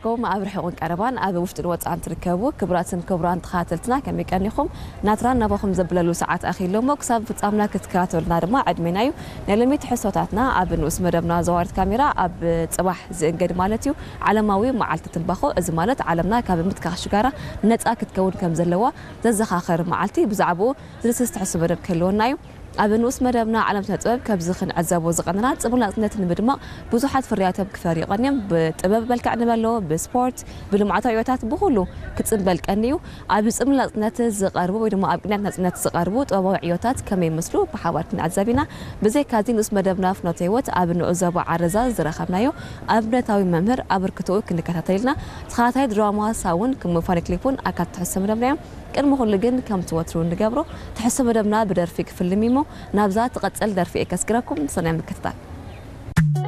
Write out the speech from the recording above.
ከም ኣብ ርሑቕን ቀረባን ኣብ ውሽጥን ወጻእን ትርከቡ ክቡራትን ክቡራን ተኸታተልትና ከመይ ቀኒኹም? ናትራን ናባኹም ዘብለሉ ሰዓት ኣኺሎ እሞ ክሳብ ፍጻምና ክትከታተሉና ድማ ዕድሜና እዩ። ናይ ሎሚ ትሕዝቶታትና ኣብ ንኡስ መደብና ዘዋሪት ካሜራ ኣብ ጽባሕ ዝእንገድ ማለት እዩ። ዓለማዊ መዓልቲ ትንባኾ፣ እዚ ማለት ዓለምና ካብ ምትካኽ ሽጋራ ነጻ ክትከውን ከም ዘለዋ ዘዘኻኸር መዓልቲ፣ ብዛዕባኡ ዝድስስ ትሕዝቶ መደብ ክህልወና እዩ። ኣብ ንኡስ መደብና ዓለም ስነ ጥበብ ከምዚ ክንዕዘቦ ዝቐነና ጽምብል ናጽነት ንምድማቕ ብዙሓት ፍርያቶም ክፈርዩ ቀንዮም። ብጥበብ መልክዕ ንበሎ፣ ብስፖርት፣ ብልምዓታዊ ዕዮታት ብኹሉ ክጽምበል ቀንዩ። ኣብ ጽምብል ናጽነት ዝቐርቡ ወይ ድማ ኣብ ቅንያት ናጽነት ዝቐርቡ ጥበባዊ ዕዮታት ከመይ ይመስሉ ብሓባር ክንዕዘብ ኢና። ብዘይካዚ ንኡስ መደብና ፍኖተ ህይወት ኣብ ንዑ ዞባ ዓረዛ ዝረኸብናዮ ኣብነታዊ መምህር ኣበርክቶኡ ክንከታተል ኢልና። ተኸታታይ ድራማ ሳውን ከም ፋኒ ክሊፕ እውን ኣካል ትሕዝቶ መደብና እዮም። ቅድሚ ኩሉ ግን ከምቲ ወትሩ እንገብሮ ትሕዝቶ መደብና ብደርፊ ክፍልም እሞ ናብዛ ትቐጽል ደርፊ እየ ከስግረኩም። ሰናይ ምክትታል።